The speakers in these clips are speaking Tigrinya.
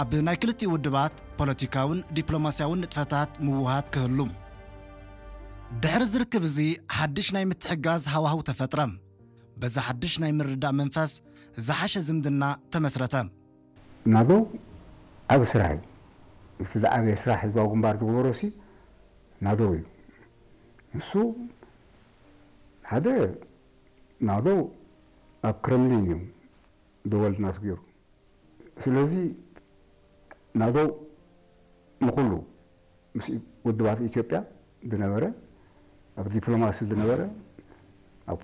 ኣብ ናይ ክልቲኡ ውድባት ፖለቲካውን ዲፕሎማስያውን ንጥፈታት ምውሃት ክህሉ። ድሕሪ ዝርክብ እዚ ሓድሽ ናይ ምትሕጋዝ ሃዋህው ተፈጥረ። በዚ ሓድሽ ናይ ምርዳእ መንፈስ ዝሓሸ ዝምድና ተመስረተ። ናደው ዓቢ ስራሕ እዩ። እቲ ዝዓበየ ስራሕ ህዝባዊ ግንባር ዝገበሮ ሲ ናደው እዩ። ንሱ ሓደ ናደው ኣብ ክረምሊን እዩ ደወል ናስጊሩ። ስለዚ ናደው ንኹሉ ምስ ውድባት ኢትዮጵያ ዝነበረ፣ ኣብ ዲፕሎማሲ ዝነበረ፣ ኣብ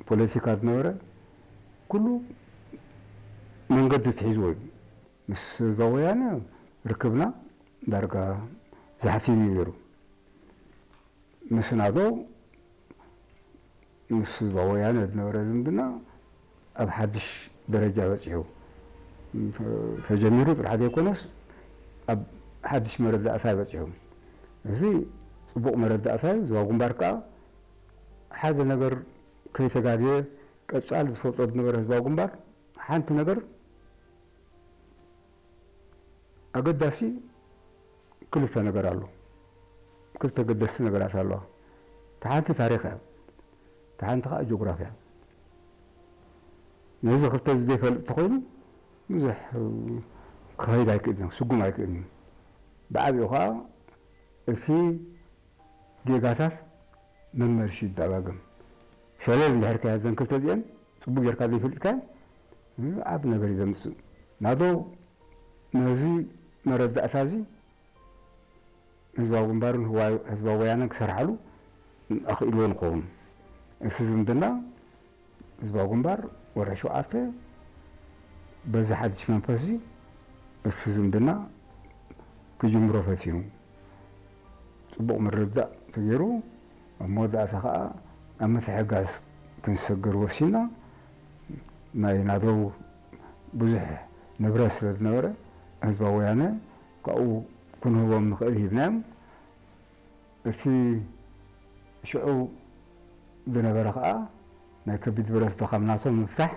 ፖለቲካ ዝነበረ ኩሉ መንገዲ ትሒዝዎ እዩ። ምስ ህዝባዊ ወያነ ርክብና ዳርጋ ዛሕቲን እዩ ነይሩ። ምስ ናደው ምስ ህዝባዊ ወያነ ዝነበረ ዝምድና ኣብ ሓድሽ ደረጃ በፂሑ። ተጀሚሩ ጥራሕ ዘይኮነስ ኣብ ሓድሽ መረዳእታ በፂሑ። እዚ ፅቡቕ መረዳእታ እዩ። ህዝባዊ ግንባር ከዓ ሓደ ነገር ከይተጋግየ ቀፃሊ ዝፈልጦ ዝነበረ ህዝባዊ ግንባር ሓንቲ ነገር ኣገዳሲ ክልተ ነገር ኣሎ። ክልተ ገደስቲ ነገራት ኣለዋ። እታ ሓንቲ ታሪኽ እያ፣ እታ ሓንቲ ከዓ ጂኦግራፊ እያ። ነዚ ክልተ እዚ ዘይፈልጥ እንተኾይኑ ብዙሕ ክኸይድ ኣይክእልን እዩ፣ ስጉም ኣይክእልን እዩ። ብዓቢኡ ከዓ እቲ ጌጋታት መመልሺ ይደጋገም። ሸለል እንድሕር ከያ እዘን ክልተ እዚአን ፅቡቅ ጌርካ ዘይፈልጥካዮ ዓብ ነገር እዩ ዘምፅእ። ናዶ ነዚ መረዳእታ እዚ ህዝባዊ ግንባርን ህዝባዊ ወያነን ክሰርሓሉ ኣኽኢልዎ ንኸውን። እዚ ዝምድና ህዝባዊ ግንባር ወርሒ ሸውዓተ በዚ ሓድሽ መንፈስ እዚ እቲ ዝምድና ክጅምሮ ፈቲኑ። ፅቡቕ ምርድዳእ ተገይሩ ኣብ መወዳእታ ከዓ ኣብ ምትሕጋዝ ክንሰግር ወሲና። ናይ ናደው ብዙሕ ንብረት ስለ ዝነበረ ህዝባዊ ወያነ ካብኡ ክንህቦም ንኽእል ሂብናዮም። እቲ ሽዑ ዝነበረ ከዓ ናይ ከቢድ ብረት ድኻም ናቶም ምፍታሕ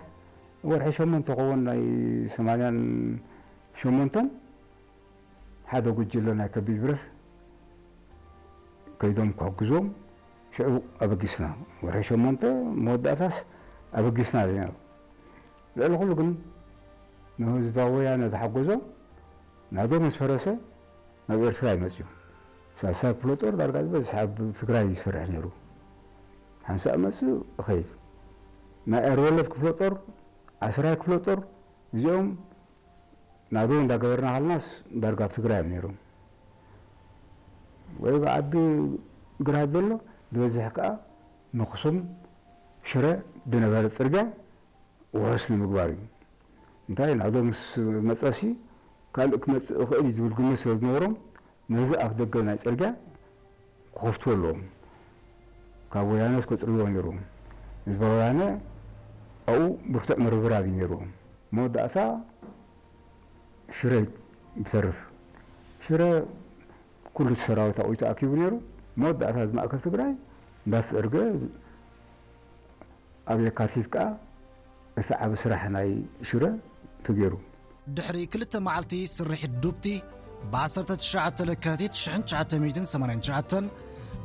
ወርሒ ሸሞንተ ክኸውን ናይ ሰማንያን ሸሞንተን ሓደ ጉጅለ ናይ ከቢድ ብረት ከይዶም ክሕግዞም ሽዑ ኣበጊስና። ወርሒ ሸሞንተ መወዳእታስ ኣበጊስና ኢና። ልዕሊ ኩሉ ግን ንህዝባዊ ወያነ ዝሓገዞ ናዶ ምስ ፈረሰ ናብ ኤርትራ እዩ መፅዩ። ሳልሳይ ክፍለ ጦር ዳርጋ ዝበዝሕ ኣብ ትግራይ ይሰርሕ ነይሩ። ሓንሳእ መፅእ እኸይድ። ናይ ኤርወለድ ክፍለ ጦር፣ ዓስራይ ክፍለ ጦር እዚኦም ናዶ እንዳገበርና ሃልናስ ዳርጋ ኣብ ትግራይ እዮም ነይሮም። ወይ ብዓዲ ግራት ዘሎ ዝበዝሕ ከዓ ንኣኽሱም ሽረ ዝነበረ ፅርግያ ውሑስ ንምግባር እዩ። እንታይ ናዶ ምስ መፀሲ ካልእ ክመፅእ ይኽእል እዩ ዝብል ግምት ስለ ዝነበሮም ነዚ ኣፍ ደገ ናይ ፅርግያ ክኸፍቱ ኣለዎም። ካብ ወያነ ከፅርዎ ነይሮም። ህዝባዊ ወያነ ኣብኡ ብርቱዕ ምርብራብ እዩ ነይርዎም። መወዳእታ ሽረ ይተርፍ። ሽረ ኩሉ እቲ ሰራዊት ኣብኡ ተኣኪቡ ነይሩ። መወዳእታ እዚ ማእከል ትግራይ እንዳተፀርገ ኣብ የካቲት ከዓ እቲ ዓቢ ስራሕ ናይ ሽረ ተገይሩ። ድሕሪ ክልተ መዓልቲ ስርሒት ዱብቲ፣ ብ ዓሰርተ ትሽዓተ ለካቲት ሽሕን ትሽዓተ ሚእትን ሰማንያን ትሽዓተን፣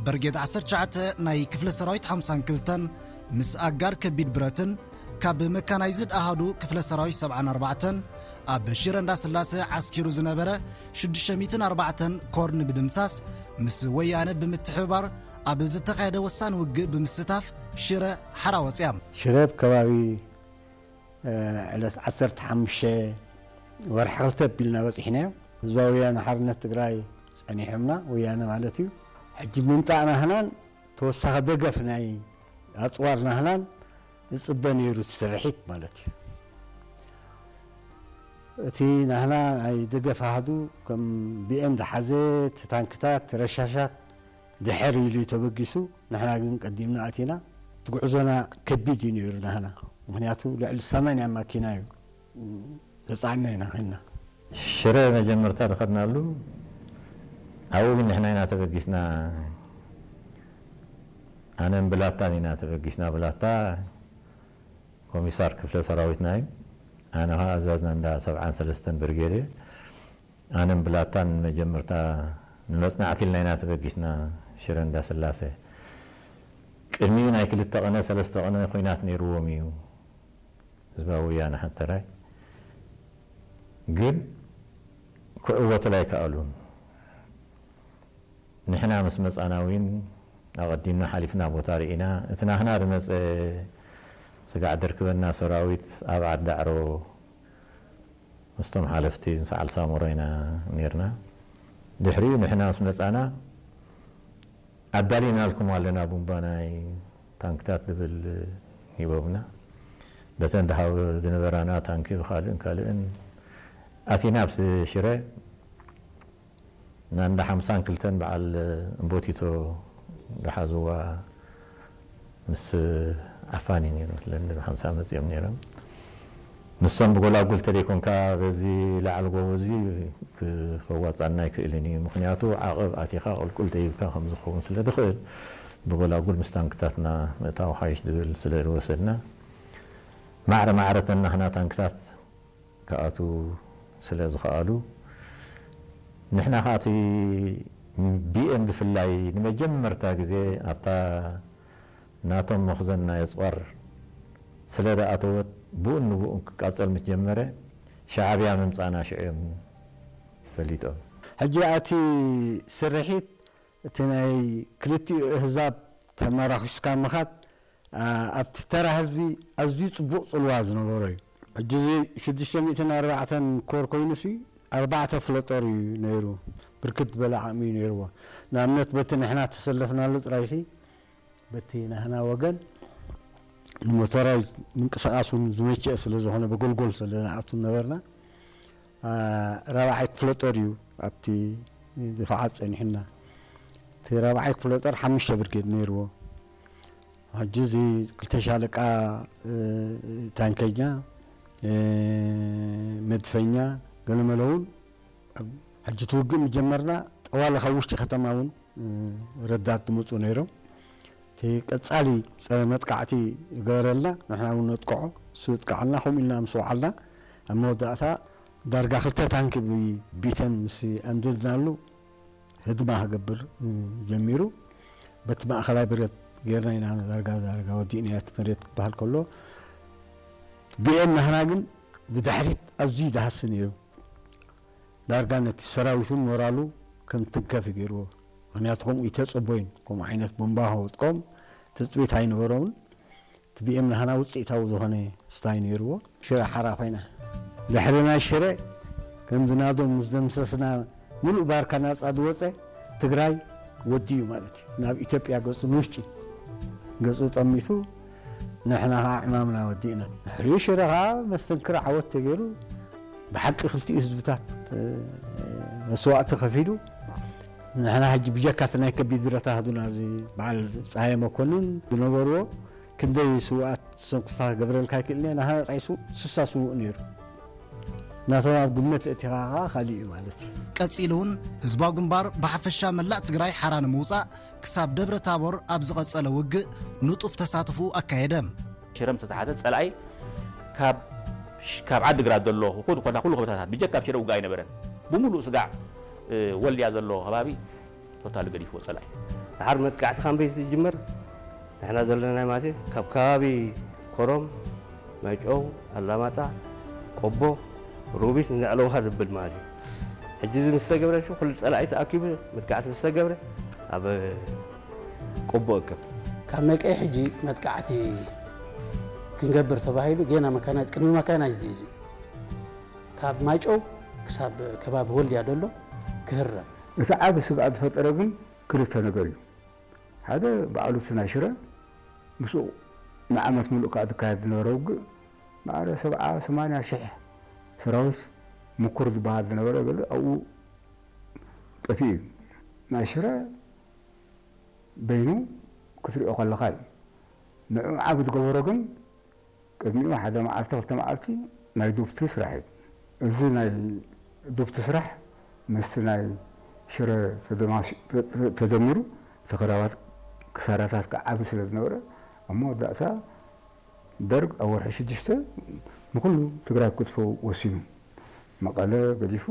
በርጌድ ዓሰርተ ትሽዓተ ናይ ክፍለ ሰራዊት ሓምሳን ክልተን ምስ ኣጋር ከቢድ ብረትን ካብ መካናይዝድ ኣሃዱ ክፍለ ሰራዊት ሰብዓን ኣርባዕተን ኣብ ሽረ እንዳስላሰ ዓስኪሩ ዝነበረ ሽዱሽተ ሚእትን ኣርባዕተን ኮር ንምድምሳስ ምስ ወያነ ብምትሕብባር ኣብ ዝተኻየደ ወሳኒ ውግእ ብምስታፍ ሽረ ሓራ ወፅያ። ሽረ ኣብ ከባቢ ዕለት ዓሰርተ ሓሙሽተ ወርሒ ክልተ ኣቢልና በፂሕናዮ። ህዝባዊ ወያነ ሓርነት ትግራይ ፀኒሖምና፣ ወያነ ማለት እዩ። ሕጂ ምምፃእ ናህናን ተወሳኺ ደገፍ ናይ ኣፅዋር ናህናን ዝፅበ ነይሩ እቲ ስርሒት ማለት እዩ። እቲ ናህና ናይ ደገፍ ኣሃዱ ከም ቢኤም ዝሓዘ፣ እቲ ታንክታት፣ ረሻሻት ድሕር ኢሉ እዩ ተበጊሱ። ንሕና ግን ቀዲምና ኣቲና። እቲ ጉዕዞና ከቢድ እዩ ነይሩ ናህና፣ ምክንያቱ ልዕሊ ሰማንያ ማኪና እዩ ተፃዕና ኢና ኮይንና። ሽረ መጀመርታ ዝኸድናሉ ኣብኡ ግን ንሕና ኢና ተበጊስና። ኣነን ብላታን ኢና ተበጊስና። ብላታ ኮሚሳር ክፍለ ሰራዊትና እዩ። ኣነ ከዓ ኣዛዝና እንዳ ሰብዓን ሰለስተን ብርጌድ እየ። ኣነን ብላታን መጀመርታ ንመጽናዕቲ ኢልና ኢና ተበጊስና ሽረ እንዳስላሴ። ቅድሚኡ ናይ ክልተ ቐነ ሰለስተ ቐነ ኹናት ነይርዎም እዩ። ህዝባዊ ወያነ ሓተራይ ግን ክዕወቱላ ኣይከኣሉን። ንሕና ምስ መጻና እውን ኣቐዲምና ሓሊፍና ቦታ ርኢና። እቲ ናህና ዝመጸ ስጋዕ ደርክበና ሰራዊት ኣብ ዓዳዕሮ ምስቶም ሓለፍቲ ምስ ዓልሳሞሮ ኢና ነርና። ድሕሪኡ ንሕና ምስ መጻና ኣዳሊናልኩም ኣለና ቡምባ ናይ ታንክታት ዝብል ሂቦምና። በተን ዝሃብ ዝነበራና ታንኪ ብኻልእን ካልእን ኣቲና ኣብ ሽረ ናንዳ ሓምሳን ክልተን በዓል እምቦቲቶ ዝሓዝዋ ምስ ዓፋኒ ነይሮም ስለኒ ሓምሳ መፂኦም ነይሮም። ንሶም ብጎላጉል ተለይኮንካ በዚ ላዕሊ ጎቦ እዚ ክዋፃና ኣይክእልን እዩ። ምክንያቱ ዓቐብ ኣቲኻ ቁልቁል ደይብካ ከም ዝኸውን ስለ ዝኽእል ብጎላጉል ምስ ታንክታትና ምእታው ሓይሽ ዝብል ስለ ዝወሰድና ማዕረ ማዕረተን ናህና ታንክታት ክኣትዉ ስለ ዝኸኣሉ ንሕና ከዓ እቲ ቢኤም ብፍላይ ንመጀመርታ ግዜ ኣብታ ናቶም መኽዘን ናይ ኣፅዋር ስለ ዝኣተወት ብኡን ንብኡን ክቃፀል ምስ ጀመረ ሻዕብያ ምምፃና ሽዑ እዮም ፈሊጦም። ሕጂ እቲ ስርሒት እቲ ናይ ክልቲኡ ኣህዛብ ተመራኺስካ ምኻድ ኣብቲ ተራ ህዝቢ ኣዝዩ ጽቡቕ ጽልዋ ዝነበሮ እዩ። ሕጂ እዚ ሽዱሽተ ሚእትን ኣርባዕተን ኮር ኮይኑሲ ኣርባዕተ ክፍለ ጦር እዩ ነይሩ። ብርክት ዝበለ ዓቕሚ እዩ ነይርዎ። ንኣብነት በቲ ንሕና ተሰለፍናሉ ጥራይሲ በቲ ናህና ወገን ንሞተራይዝ ምንቅስቓስ እውን ዝመቸአ ስለ ዝኾነ ብጎልጎል ስለ ንኣቱ ነበርና። ራብዓይ ክፍለ ጦር እዩ ኣብቲ ድፋዓት ጸኒሕና። እቲ ራብዓይ ክፍለ ጦር ሓሙሽተ ብርጌድ ነይርዎ። ሕጂ እዚ ክልተ ሻለቃ ታንከኛ፣ መድፈኛ፣ ገለመለ እውን ሕጂ እቲ ውግእ ምጀመርና ጠዋለ ካብ ውሽጢ ከተማ እውን ረዳት ዝመፁ ነይሮም። እቲ ቀፃሊ ፀረ መጥቃዕቲ ይገበረልና፣ ንሕና እውን ነጥቅዖ፣ እሱ ይጥቅዓልና፣ ከምኡ ኢልና ምስ ወዓልና ኣብ መወዳእታ ዳርጋ ክልተ ታንኪ ብቢተን ምስ ኣንደድናሉ ህድማ ክገብር ጀሚሩ። በቲ ማእኸላይ ብረት ጌርና ኢና ዳርጋ ዳርጋ ወዲእና እቲ መሬት ክበሃል ከሎ ቢኤም ናህና ግን ብድሕሪት ኣዝዩ ይደሃሲ ነይሩ። ዳርጋ ነቲ ሰራዊት እውን ሞራሉ ከም ትንከፍ ገይርዎ። ምክንያቱ ከምኡ ይተፀቦይን ከምኡ ዓይነት ቦምባ ከወጥቆም ትፅቢት ኣይነበሮምን። እቲ ቢኤም ናህና ውፅኢታዊ ዝኾነ ስታይ ነይርዎ። ሽረ ሓራ ኮይና ድሕሪ ናይ ሽረ ከም ዝናዶም ምስ ደምሰስና ሙሉእ ባርካ ናፃ ዝወፀ ትግራይ ወዲኡ ማለት እዩ። ናብ ኢትዮጵያ ገፁ ንውሽጢ ገፁ ጠሚቱ ንሕና ከዓ ዕማምና ወዲእና። ድሕሪኡ ሽረ ከዓ መስተንክር ዓወት ተገይሩ ብሓቂ ክልቲኡ ህዝብታት መስዋእቲ ከፊሉ ንሕና ሕጂ ብጀካ እቲ ናይ ከቢድ ብረት ኣሃዱና እዚ በዓል ፀሃየ መኮንን ዝነበርዎ ክንደይ ስውኣት ሰንኩስታ ክገብረልካ ይክእል እየ። ናህና ጥራይ ስውእ ስሳ ስውእ ነይሩ። ናቶም ኣብ ግምት እቲኻ ከዓ ካሊእ እዩ ማለት እዩ። ቀጺሉ እውን ህዝባዊ ግንባር ብሓፈሻ መላእ ትግራይ ሓራ ንምውጻእ ክሳብ ደብረ ታቦር ኣብ ዝቐጸለ ውግእ ንጡፍ ተሳትፎ ኣካየደ። ሽረ ምስ ተታሕዘ ጸላኢ ካብ ካብ ዓዲ ግራት ዘሎ ኩሉ ኮታ ኩሉ ከበታታት ብጀካ ኣብ ሽረ ውግእ ኣይነበረን። ብምሉእ ስጋዕ ወልድያ ዘሎ ከባቢ ቶታል ገዲፍዎ ጸላኢ። ድሓር መጥቃዕቲ ካምበይ ዝጅመር ንሕና ዘለና ማለት እዩ ካብ ከባቢ ኮረም፣ ማይጨው፣ ኣላማጣ፣ ቆቦ፣ ሮቢት ንዕለውኻ ዝብል ማለት እዩ። ሕጂ እዚ ምስ ተገብረ ኩሉ ጸላኢ ተኣኪቡ መጥቃዕቲ ምስ ተገብረ ኣብ ቆቦ እከብ። ካብ መቀይ ሕጂ መጥቃዕቲ ክንገብር ተባሂሉ ጌና መካናይዝ ቅድሚ መካናይዝ እዩ እዚ ካብ ማይጨው ክሳብ ከባቢ ወልድያ ዘሎ ክህረም። እቲ ዓቢ ስግኣት ዝፈጠረ ግን ክልተ ነገር እዩ። ሓደ ባዕሉ እቲ ናይ ሽረ ምስኡ ንዓመት ሙሉእ ከዓ ዝካየድ ዝነበረ ውግእ ማዕረ ሰብዓ ሰማንያ ሽሕ ሰራዊት ምኩር ዝበሃል ዝነበረ ገለ ኣብኡ ጠፊኡ እዩ። ናይ ሽረ በይኑ ክትሪኦ ከለኻ እዩ። ንዕኡ ዓቢ ዝገበሮ ግን ቅድሚኡ ሓደ መዓልቲ ክልተ መዓልቲ ናይ ዱብቲ ስራሕ እዩ። እዚ ናይ ዱብቲ ስራሕ ምስቲ ናይ ሽረ ተደማሲ- ተደሚሩ እቲ ክራባት ክሳራታት ክዓቢ ስለ ዝነበረ ኣብ መወዳእታ ደርግ ኣብ ወርሒ ሽዱሽተ ንኩሉ ትግራይ ክትፈው ወሲኑ መቐለ ገዲፉ